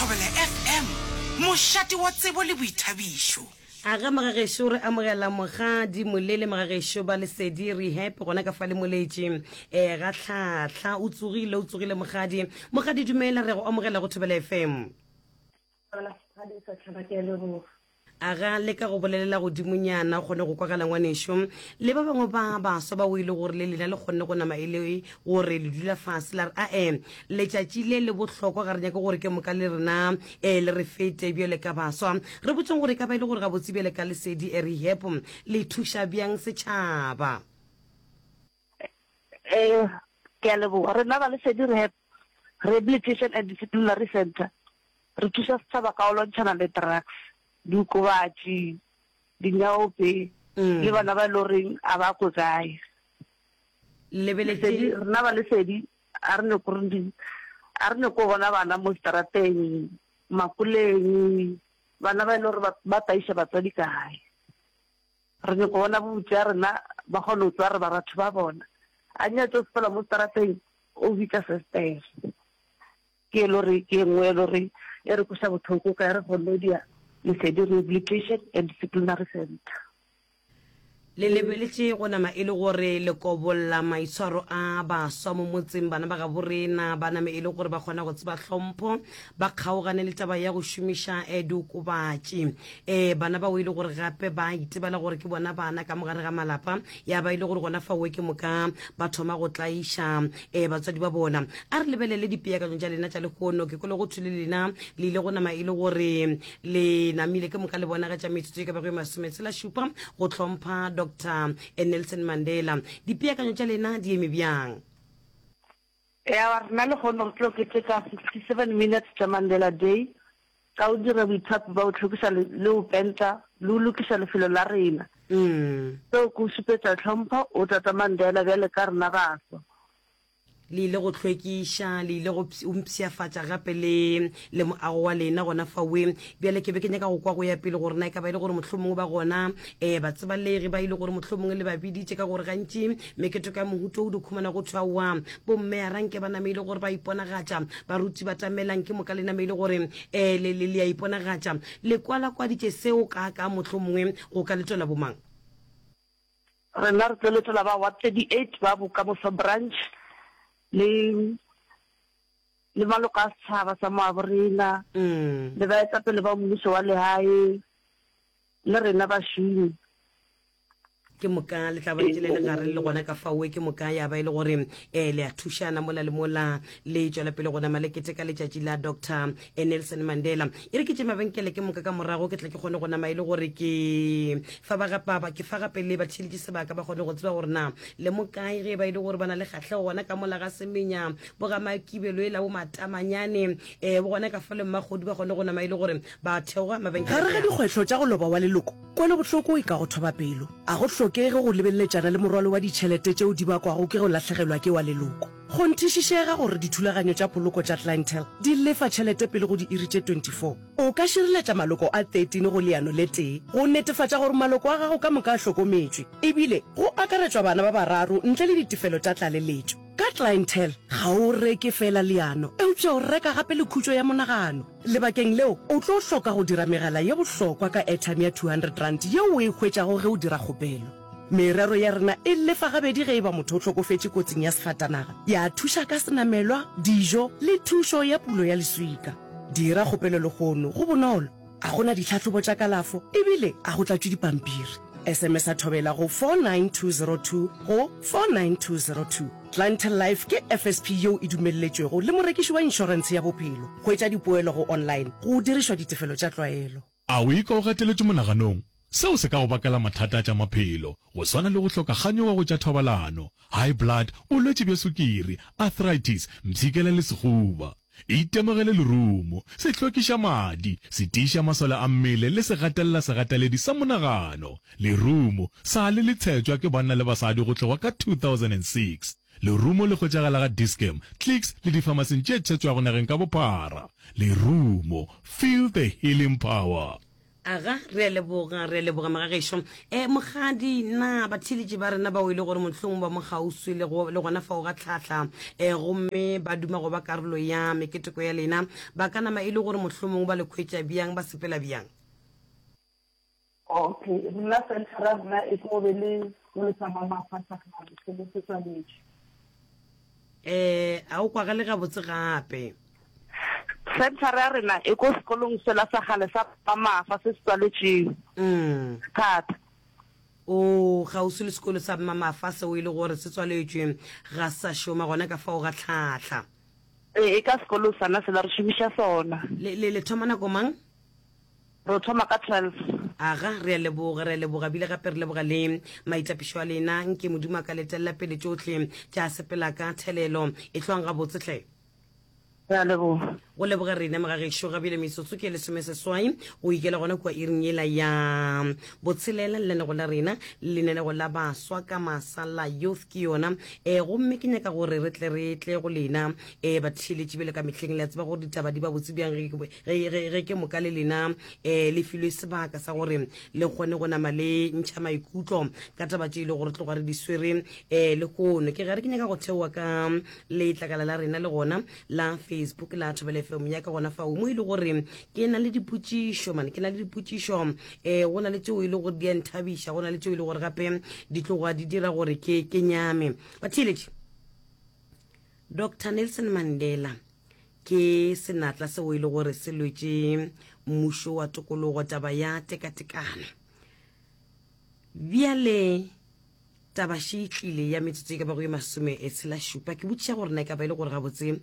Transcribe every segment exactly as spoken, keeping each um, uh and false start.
Thobela F M, mošate wa tsebo le boithabišo. A ga magagešo re amogela Mokgadi Molele magagešo ba Lesedi Rehab gona ka fa le moletši um ga tlhahla o tsogile o tsogile Mokgadi. Mokgadi, dumela, re go amogela go Thobela F M. A ga le ka go bolelela godimonyana kgone go kwagala ngwanešo le ba bangwe ba baswa ba o ile gore le lena le kgonne go nama e le gore le dula fase la re ae letšatši le le bohlokwa, ga re nyake gore ke moka le rena um le re fete bjale ka baswa. Re botseng gore e ka ba e le gore gabotse bjale ka Lesedi Rehab le thuša bjang setšhaba? um ke a leboga. Rena ba Lesedi Rehab, Rehabilitation and Disciplinary Center, re thuša setšhaba ka go lwantšhana le drugs, diokobatši, dinyaope le bana ba e le goreng a ba kwe kae. Lebeletše. Rena ba Lesedi a re nyako re a re nyako bona bana mo strateng, makoleng, bana ba e le gore ba taiša batswadi kae. Re nyako bona bobotse ya rena ba kgone go tswa re ba batho ba bona a nyatse o sepela mo strateng o bitsa sestere ke e le gore ke e nngwe e le gore e re kweša bohloko ka re kgonne dia Lesedi Rehabilitation and Disciplinary Center. Le lebeletše go nama e le gore le kobolla maitshwaro a baswa mo motseng, bana ba gabo rena ba name e le gore ba kgona go tseba hlompho, ba kgaogane le taba ya go šomiša um diokobatši, um bana bao e le gore gape ba itebala gore ke bona bana ka mogare ga malapa, ya ba e le gore gona faoe ke moka ba thoma go tlaiša um batswadi ba bona. A re lebelele dipeakanyo tša lena tša lehono. Ke kwele go thwe le lena le ile go nama e le gore le namile ke moka le bonagatša metsotso e ka bago e masometshela šupa go hlompha Doctor Nelson Mandela. Dipeakanyo tša lena di eme bjang? Ya rena le kgone re tlo keteka sixty-seven minutes tša Mandela Day ka go dira boithapi ba go hlwekiša le go penta le go lokiša lefelo la rena. mm. Seo ke go šupetša tlhompho o tata Mandela bjale ka rena baswa. Le ile go hlwekiša, le ile go mpshafatša gape le le moago wa lena gona fawe. Bjale ke be ke nyaka go kwa go ya pele gore na e ka ba e le gore mohlomongwe ba gona um batsebalegi ba ile gore mohlomongwe le ba biditše, ka gore gantši meketeko ya mohuto o di khumana go thwawa bomme a ranke ba name e le gore ba iponagatša, baruti ba tamelang ke moka le name e le gore um le le a iponagatša. Le kwalakwaditše seo ka ka mohlomongwe go ka letela bomang? Rena re tlo letela ba Ward thirty-eight, ba Bokamoso Branch le le maloko a setšhaba sa moabo rena mm. le baetapele ba mmušo wa lehae le rena bašomi. Ke moka le tla ba ntse le le gare le gona ka faoe, ke moka ya ba e le gore um le a thušana mola le mola le tšwela pele go nama le keteka letšatši la Doctor Nelson Mandela. E re ke tše mabenkele, ke moka ka morago ke tla ke kgone go nama e le gore ke fa ba gapa ke fa gape le batheeletši sebaka ba kgone go tseba gore na le mo kae, ge ba e le gore ba na le kgahlego gona ka mola ga Semenya, bo ga Makibelo e la bo Matamanyane, um bo gona ka fa le Mmakgodu, ba kgone go nama e le gore ba theoga mabenkele. Gare ga dikgwetlho tša go loba wa leloko, kwelobohloko e ka go thoba pelo. A go hlokege go lebeleletšana le morwalo wa ditšhelete tšeo di bakwago ke go lahlegelwa ke wa leloko. Kgonthišišega gore dithulaganyo tša poloko tša Clientele di lefa tšhelete pele go diiri tše twenty-four. O ka šireletša maloko a thirteen go leano le tee go netefatša gore maloko a gago ka moka a hlokometšwe, ebile go akaretšwa bana ba bararo ntle le ditefelo tša tlaleletšo. Ka Clientele ga o reke fela leano, eupša o reka gape le khutšo ya monagano. Lebakeng leo o tlo hloka go dira megala ye bohlokwa ka airtime ya two hundred rand yeo o e hwetšago ge o dira kgopelo. Merero ya rena e lefa gabedi ge e ba motho o hlokofetše kotsing ya sefatanaga, ya thuša ka senamelwa, dijo le thušo ya pulo ya leswika. Dira kgopelo lehono, go bonolo, a gona ditlhahlobo tša kalafo ebile a go tlatšwe dipampiri. S M S a Thobela go four nine two zero two go four nine two zero two. Clientele Life ke F S P yeo e dumelletšwego le morekiši wa inšorentshe ya bophelo. Hwetša dipoelo go online go dirišwa ditefelo tša tlwaelo. A o ikwa o gateletšwe monaganong? Seo se ka go bakela mathata a tša maphelo, go swana le go hloka kganyogo go tša thobalano, high blood, bolwetši bja sukiri, arthritis, mpshikela le sehuba. Itemogele lerumo, se hlwekiša madi, se tiiša masole a mmele le se gatelela segateledi sa monagano. Lerumo sa le le tshetšwa ke banna le basadi go tloga ka two thousand and six. Lerumo le hwetšagala ga Dis-Chem, Clicks le difamasing tše tshetšwago nageng ka bophara. Lerumo, feel the healing power. Aga, re a leboga, re a leboga magagešo. E, Mokgadi, na batheeletši ba rena bao e le gore mohlomong ba mo kgauswi le, go, le gona fao ga tlhahla, e, gomme ba duma go ba karolo ya meketeko ya lena, ba ka nama e le gore mohlomong ba le khwetša bjang, ba sepela bjang? Okay, rena centre ya rena e tlo be le sekolo sa Mamafa sa kgale, se le se tswaletšwe. E, a o kwagale gabotse gape. Senthara ya rena e ko sekolong sela sa kgale sa Mmamafa se se tswaletšwego Mm. thata. O kgauswi le sekolo sa Mmamafa seo e le gore se tswaletšwe, ga se sa šoma gona ka fao ga tlhahla. Ee, e ka sekolong sona sela, re šomiša sona. Le, le, le thoma nako mang? Re thoma ka twelve. Aga, re a leboga, re a leboga, bile gape re leboga le maitapišo a lena. Nke Modimo a ka le telela pele tšohle tša sepela ka thelelo. Ehlwang gabotse hle. Re a leboga. Go leboga rena mogagešo. Ga bjale metsotso ke lesomeseswai go ikela gona kua iring yela ya botshelela. Lenanego la rena, lenanego la baswa ka masa la Youth ke yona. E, gomme ke nyaka gore re tle re tle go lena e, batheeletši bjale ka mehleng. Le a tseba gore ditaba di ba botse bjang ge, ge, ge, ge ke moka le lena e, le filwe sebaka sa gore le kgone go nama le ntšha maikutlo ka taba tše e le gore tloga re di swere e, lehono. Ke gare ke nyaka go theoa ka letlakala la rena le gona la Facebook la Thobela F M ya ka gona fao mo e le gore ke na le dipotšišo mane, ke na le dipotšišo um go na le tšeo e le gore di a nthabiša, go na le tšeo e le gore gape di tloga di dira gore ke ke nyame. Batheeletši, Doctor Nelson Mandela ke senatla seo e le gore se lwetše mmušo wa tokologo taba ya tekatekano. Bjale taba še e tlile ya metsotso e ka bago ye masome e tshela šupa. Ke botšiša gore na e ka ba e le gore gabotse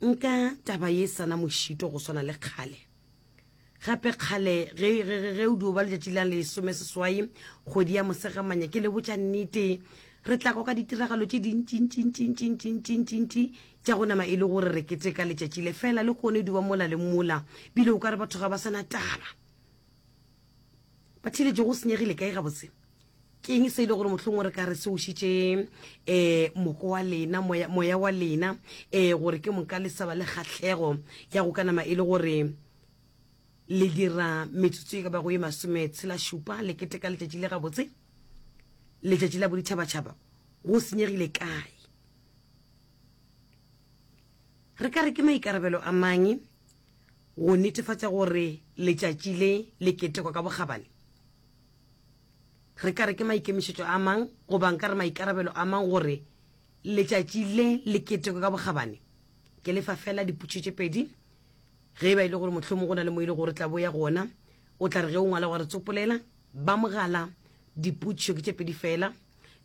nka taba ye sana mošito go swana le kgale. Gape kgale ge, ge, ge, ge o dio ba letšatši la lesome seswai kgwedi ya Mosegamanya, ke le botša nnete, re tla kwa ka ditiragalo tše dintšintšintšintšintšintšintšintši tša go nama e le gore re keteka letšatši le fela le kgone dio ba mola le mola, bile o ka re batho ga ba sana taba. Ba theeletše go senyegile kae gabotse? Ke eng se e le gore mohlomongwe re ka re se ušitše um moko wa lena, moya, moya wa lena, um gore ke moka le sa ba le kgahlego ya go ka nama e le gore le dira metsotso e ka bago ye masome tshela šupa le keteka letšatši le gabotse, letšatši la boditšhabatšhaba? Go senyegile kae? Re ka re ke maikarabelo a mang go netefatša gore letšatši le le ketekwa ka bokgabane? Re ka re ke maikemišetšo a mang goba nka re maikarabelo a mang gore letšatši le le ketekwe ka bokgabane? Ke lefa fela dipotšišo tše pedi. Ge e ba e le gore mohlomong go na le mo e le gore tla bo ya gona, o tla re ge o ngwala wa re tsopolela ba mogala. Dipotšišo ke tše pedi fela,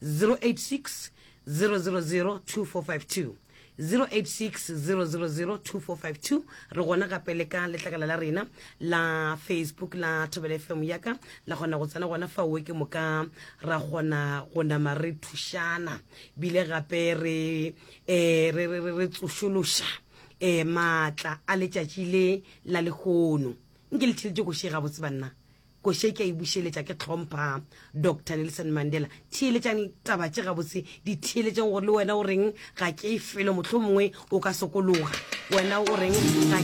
zero eight six zero zero zero two four five two, zero eight six zero zero zero two four five two. Re gona gape le ka letlakala la rena la Facebook la Thobela F M ya ka, la kgona go tsena gona fao ke moka ra kgona go nama re thušana, bile gape re, eh, re, re, re, re tsošološa, eh, maatla a letšatši le la lehono. Nke le theeletše koše gabotse banna, koše ke a e bušeletša ke tlhompha Doctor Nelson Mandela. Theeletšang taba tše gabotse, di theeletšeng gore le wena o reng ga ke felo, mohlomongwe o ka sokologa, wena o reng ga